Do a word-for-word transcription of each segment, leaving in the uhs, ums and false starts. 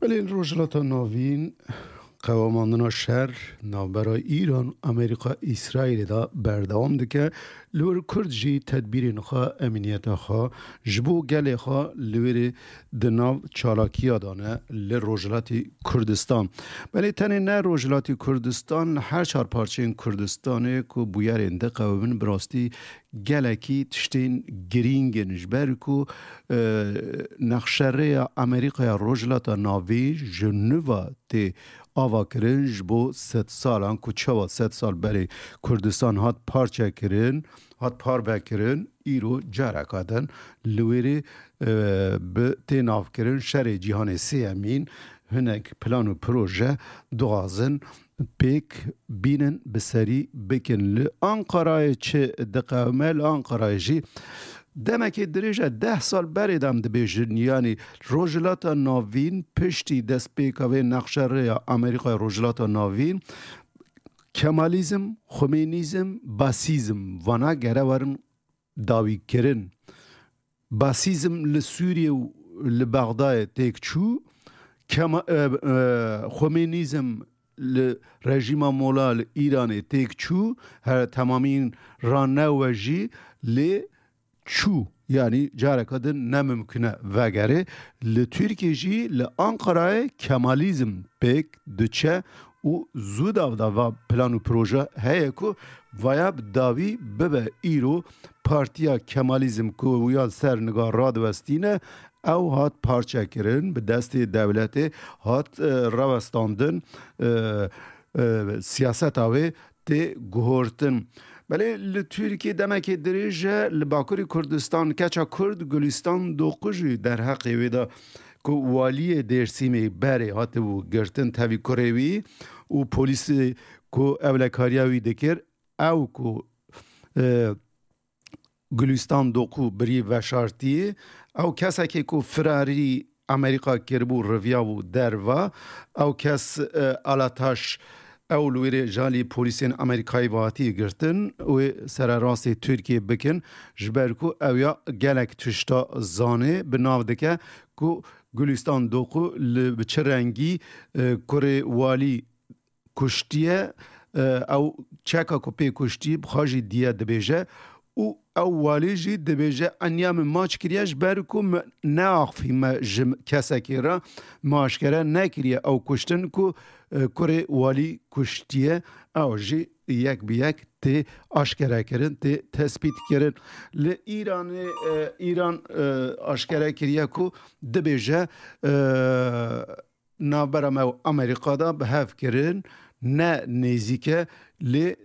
Belê li Rojhilata Navîn qewemandina şer navbera Îran, Amerîka, Îsraîlê de berdewam dike. Li wir Kurd jî tedbîrên xwe, emniyeta xwe ji bo gelê xwe li wêrê di nav çalakiya de ne li Rojhilatê Kurdistan. Belê tenê ne Rojhilatê Kurdistan, li her çar parçeyên Kurdistanê ku bûyerên diqewimin bi rastî gelekî tiştên girîng in, ji ber ku, e, nexşerêya Amerîkaya Rojhilata Navîn ji nû ve tê avakirin, ji bo sed salan ku çawa sed sal berê Kurdistan hat parçekirin, hat parvekirin, îro careka din li wêrê, e, bi tê navkirin şerê cîhanê sêyemîn, hinek plan û proje dixwazin pêk bînin, bi serî bikin. Li Ankarayê çi diqewime? Li Ankarayê jî demekê dirêj e, deh sal berê de em dibêjin, yanî Rojhilata Navîn piştî destpêka vê nexşerêya Amerîkaya Rojhilata Navîn, Kemalîzm, Xumênîzm, Basîzm vana gere werin dawîkirin. Basîzm li Sûriyê û li Bexdayê têk çû, Kema-, e, e, Xomênîzm li rejîma mola li Îranê têk çû, her temamîn ranewe jî lê çû. Yanî careke din ne mimkun e vegerê. Li Tirkiyê jî li Ankarayê Kemalîzm pêk diçe û zû davda va plan û proje heye ku vaya bi dawî bibe îro partiya Kemalîzm ku wîya li ser niga radiwestîne, ew hat parçekirin, bi destê dewletê hat, e, rawestandin, e, e, siyaseta wê tê guhortin. Belê li Tirkiyê demekê dirêj e li Bakurê Kurdistan keça Kurd Gulîstan Doqu jî derheqê wê de ku waliyê Dêrsimê berê hatibû girtin tevî kurê wî û polîsê ku ewlekariya wî dikir, ew ku, e, Gulîstan Doqu birî veşartiyê, ew kesekê ku firarî Amerîka kiribû, riviyabû derva, ew kes, e, Alataş, ew li wêrê ji alî polîsên Amerîkayî ve hatiye girtin, wê sererastê Tirkiyê bikin, ji ber ku ew ya gelek tişta zanê, bi nav dike ku Gulîstan Doqu li bi çi rengî, e, kurê walî kuştiye, e, ew çeka ku pê kuştî, bi xwe jî diye dibêje û ew walî jî dibêje, eniya min maç kiriye ji ber ku min neaxifî me ji kesekê re, me aşkere nekiriye ew kuştin ku, e, kurê walî kuştiye, ew jî yek bi yek tê aşkerekirin, tê tespîtkirin. Li Îranê, e, Îran, e, aşkere kiriye ku dibêje, e, navbera me û Amerîka de bi hev kirin, ne nêzîk e, lê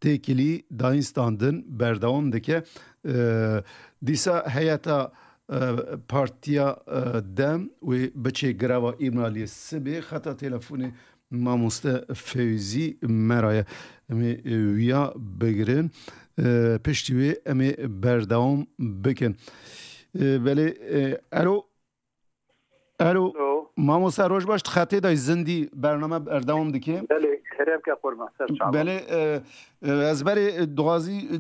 têkilî dayîn standin berdewam dike. Ee, dîsa heyeta, e, Partiya, e, DEM wê biçê greva Îmraliyê sibê. Xeta telefonê mamoste Fewzî me re ye. Em ê, e, wiya bigirin. E, piştî wê em ê berdewam bikin. E, belê, e, elo. Alo. Alo. Mamoste, roj baş, di xetê de zindî bername berdewam dike. Belê, kerem ke qurban, ser çavan. Belê, e, e, ez berê, e, dixwazî, e,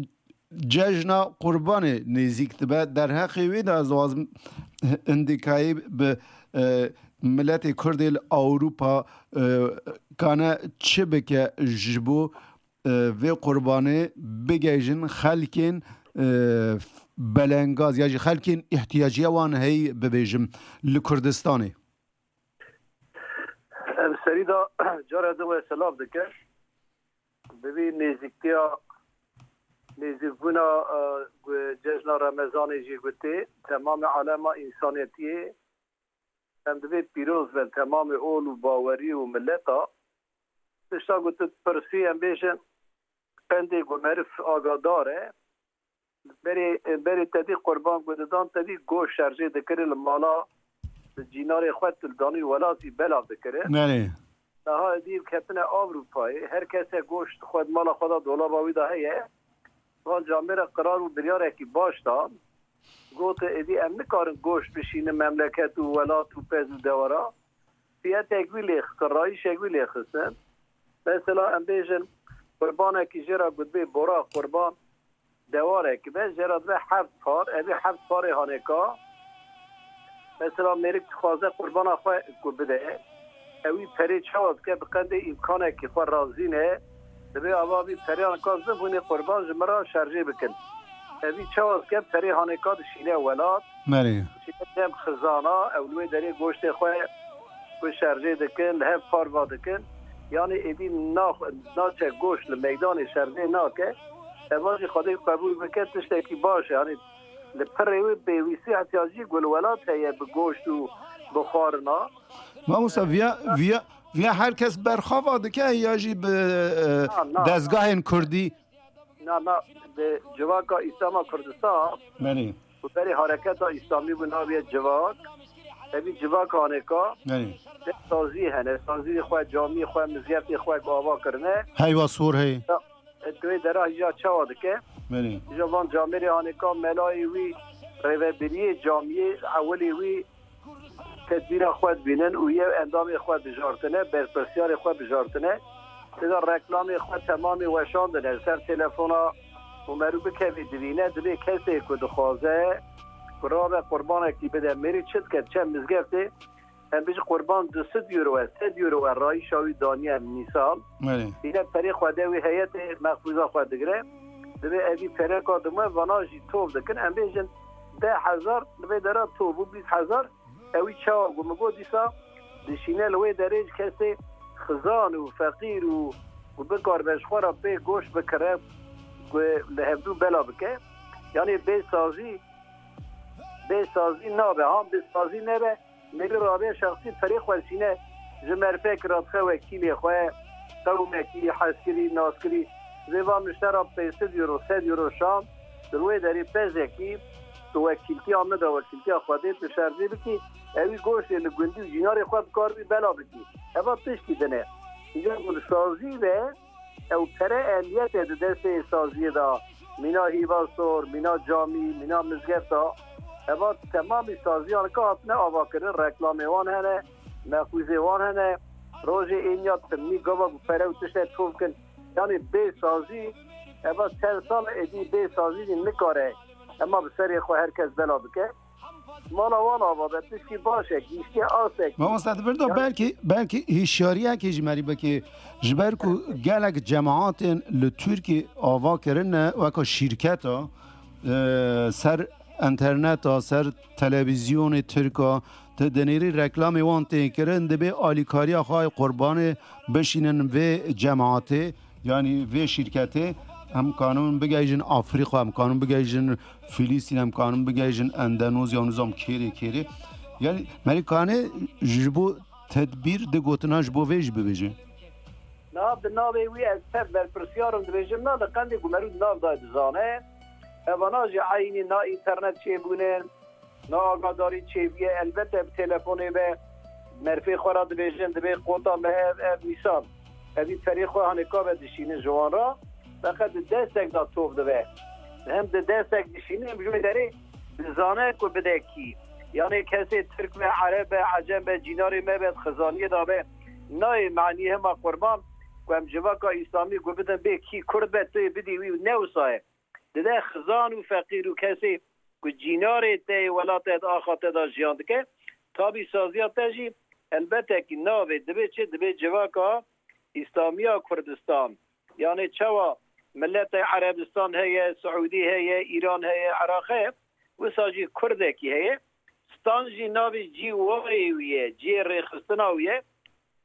cejna Qurbanê nêzîk dibe. Derheqê wê de ez dixwazim, e, hindikayî bi, e, miletê Kurdê li Ewropa, e, kane çi bike ji bo e, vê qurbanê bigihîjin xelkên, e, belengaz ya jî xelkên îhtiyacîya wan heyî bibêjim li Kurdistanê? Em serî de cara din we selav dikin. Bi vî nêzîktiya, nêzîkbûna, e, gu-, cejna Remezanê jî gotê, temamê alema însaniyetiyê em divê pîroz bin, temamê ol û bawerî û mileta. Tişta ku tu dipirsî, em bêjin, pendê ku meriv agadar e, berê, berê te dî qurban ku didan, te dî goşt şerjê dikirin li mala, li cînarê xwe tu li danî welatî belav dikirin. Belê. Niha êdî ketine Ewropayê, her kese goşt xwe di mala xwe de, dolaba wî de heye. Van camêre qirar û biryarekî baş dan. Gote, êdî em nikarin goşt bişînin memleket û welat û pez û dewara. Siyetek wî lê xistin, rayîşek wî lê xistin. Mesela em bêjin, qurbanekî jê re gotibê bora qurban, dewarek be, jê re dibe heft par, evî heft parê hanêka. Mesela mêrik dixwaze qurbana xwe ku bide, ewî perê çawa dike, bi qendê îmkanekî xwe razî ne, dibê ava vî pereyan ka zim hûnê qurban ji min re şerjê bikin. Evî çawa dike, perê hanê ka dişîne welat, Merê. dişîne dem xizana, ew li wê derê goştê xwe ku şerjê dikin, li hev parva dikin. Yanî êdî nax-, naçe goşt li meydanê şerjê nake. Eva jî Xwedê qebûl bike, tiştekî baş e. Yanî li pirê wê pêwîstî, ihtiyacî ku li welat heye bi goşt û bi xwarina. Mamosta, viya, viya, viya her kes berxava dike ya jî bi, e, Na, na. dezgahên kurdî? Na, na, di civaka Îslama Kurdistan Belê. û berê hareketa Îslamî bû naviye civak. Evî civak hanêka Belê. de sazî hene. Sazî xwe, camî xwe, mizgeftê xwe ku ava kirine. Heyva sor hey. Ya, e, tu wê dera hîja çawa dike? Belê. Hîja van camêrê hanêka melayê wî, rêvebiriyê camiyê, ewilê wî tedbîra xwe dibînin û yew endamê xwe bijartine, berpirsiyarê xwe bijartine. Têda reklamê xwe temamê weşandine. Li ser telefona û merû bikevê divîne, divê kesê ku dixwaze ku rabe qurbanekî bide, mêrî çi dike, çend mizgeftê, em bijî qurban du sed euro e, sed euro e, rayîşa wî daniye mîsal. Belê. Îne perê xwe de wî heyetê mexfûza xwe digire. Divê evî pereka dime, vana jî tov dikin. Em bêjin deh hezar, li vê dera tov û bîst hezar, ewî çawa ku min got dîsa dişîne li wê derê ji kesê xizan û feqîr û ku bikaribe ji xwe re pê goşt bikire, ku li hevdû bela bike. Yanî bê sazî, bê sazî nabe. Han bê sazî nebe, mêrî rabe şexsî perê xwe dişîne ji merfek re dixe wekîlê xwe, qewmekî, heskirî, naskirî, vê va miştera pênc sed euro, sed euro şan, di wê derê pezekî, tu wekîltiya min de, wekîltiya Xwedê, tu şerjê bikî, ewî goştê li gundî û cînarê xwe bikaribî bela bikî. Eva tiştî din e. Îcar ku li sazî ve, ew pere emniyet e di destê saziyê de. Mîna hîva sor, mîna camî, mîna mizgefta. Eva temamî saziyan ka hatine avakirin, reklamê wan hene, mexûzê wan hene. Rojê êniya timî gava ku pere û tişte tov kin. Yanî bê sazî, eva çend sal êdî bê sazî jî nikare. Ema bi serê xwe her kes bela bike. Mala wan ava be, tişkî baş e, giştiye asek. Mamosta, di vir de Ya- belkî, belkî hişyariyekê ji merî bikê, ji ber ku gelek cemaatên li Tirkiyê ava kirine weka şîrketa, e, ser enterneta, ser televîzyonê Tirka, tu dinêrî reklamê wan tê kirin, dibê alîkariya xwe qurbanê bişînin vê cemaatê. Yanî vê şîrketê em kanin bigihîjin Afrîka, em kanin bigihîjin Filîstîn, em kanin bigihîjin Endonezya, nizam kêrê kêrê. Yanî merî kane ji bo tedbîr di gotina ji bo vê jî bibêje. Na, di navê wî ez tev berpirsiyar im, dibêjim, na, li qendê ku merû di nav de dizane. Evana jî eynî na înternet çêbûne, na agadarî çêbûye. Elbete bi telefonê ve merfê xwe re dibêjin, dibê qota me ev, ev mîsal. Evî perê xwe hanê ka ve dişînin ji wan re. Feqet di destek de tov dibe. Hem di destek dişînin, hem ji wê derê dizane ku bide kî. Yanê kesê Tirk be, Ereb be, Ecem be, cînarê me be, di xizaniyê de be. Nayê manî hema qurban ku em civaka Îslamî ku bidin bê kî Kurd be, tu yê bidî wî, ne wisa ye. Dide xizan û feqîr û kesê ku cînarê te yê welatê te axa te de jiyan dike, tabî saziya te jî elbete kî navê dibe çi? Dibe civaka Îslamiya Kurdistan. Yanê çawa miletê Erebistan heye, Siûdî heye, Îran heye, Iraq heye, wisa jî Kurdekî heye. Stan jî navê cî wayê wî ye, cihê rêxistina wî ye.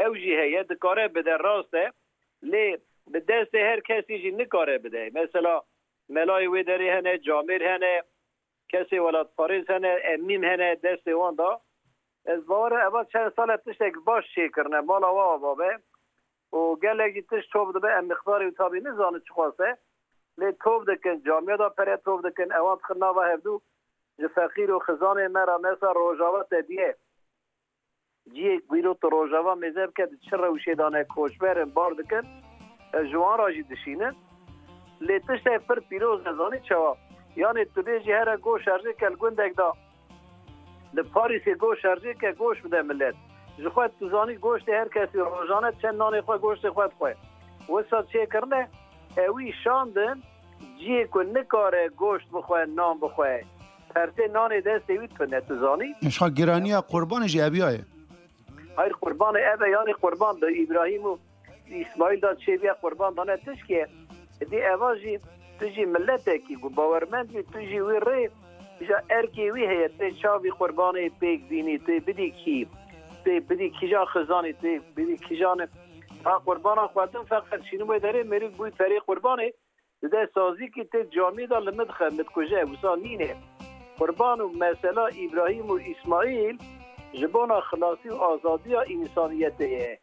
Ew jî heye, dikare bide, rast e. Lê bi destê her kesî jî nikare bide. Mesela melayê wê derê hene, camêr hene, kesê welatparêz hene, emîn hene destê wan de. Ez bawer im eva çend sal e tiştek baş çêkirine, mala wa ava be. Û gelek jî tişt top dibe, em miqdarê wî tabî nizanin çiqas e. Lê top dikin, camiya de pere top dikin, ewan dixin nava hevdû ji feqîr û xizanê me re, mesela Rojava te diye. Cihê ku îro tu Rojava mêze bike, di çi rewşê de ne, koçber in, bar dikin, e, ji wan re jî dişînin. Lê tiştek pir pîroz e, zanî çawa? Yanê tu bêjî here goşt şerjê ke li gundek de, li Parîsê goşt şerjê ke, goşt bide milet. Ji xwe tu zanî goştê her kesî rojane çend nanê xwe, goştê xwe dixwe. Wisa çêkirine, ewî şandin cihê ku nikare goşt bixwe, nan bixwe. Persê nanê destê wî tune, tu zanî? Eşxa giraniya qurbanê jî eviya ye. Hayır, qurbanê ev e, yani qurban da Îbrahîm û Îsmaîl da çêviye qurban dane tişkê. Di eva jî tu jî miletekî ku bawermend bî, tu jî wî rê ja erkê wî heye, tê çavî qurbanê pêk bînî, tê bidî kî, tê bidî kîjan xizanî, tê bidî kîjan. Ha qurbana xwedin feqet şînî wê derê mêrik bûy perê qurbanê, dide sazîkî tê camî de li min dixe, min dikuje, wisa nîne. Qurban û mesela Îbrahîm û Îsmaîl ji bona xilasî û azadiya însaniyetê ye.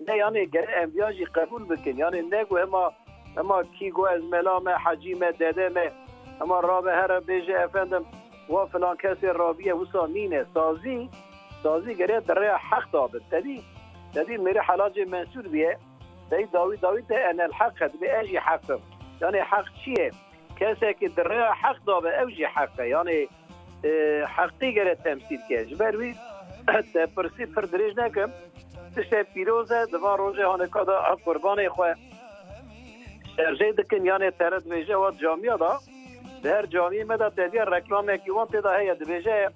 Ne, yani gere em viya jî qebûl bikin. Yani ne ku hema, hema kî got ez mela me, hecî me, dede me, hema rabe here bêje efendim wa filan kesê rabiye, wisa nîne. Sazî, sazî gere di rêya heq da bi. Tedî, tedî mêrê helacê mensûr biye. Tedî dawî dawî te enel heq e, dibê ez jî heq im. Yani heq çi ye? Kesekî di rêya heq da be, ew jî heq e. Yani e, heqî gere temsîl ke. Ji ber wî te pirsî pir dirêj nekim. Tiştek pîroz e, di van rojê hanika de qurbanê xwe şerjê dikin, yanê tere dibêje wa camiya da. Di her camiyê me de te diya reklamekî wan tê de heye, dibêje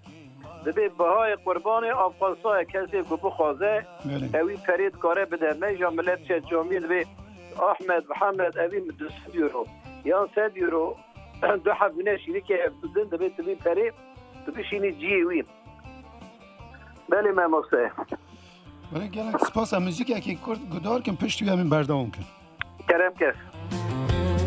dibê bihayê qurbanê avqasa ye, kesê ku bixwaze Belê. Ewî perê dikare bide. Me ja milet çe camiyê dibê Ahmed, Mihemed, evî du sed euro yan sed euro. Du heb hûne şîrikê ev din dibê tu vî perê tu bişînî ciyê wî. Belê, mamoste. Belê, gelek spas. Em muzîkekî kurt guhdar kin, piştî wî em ê berdewam kin. Kerem kes.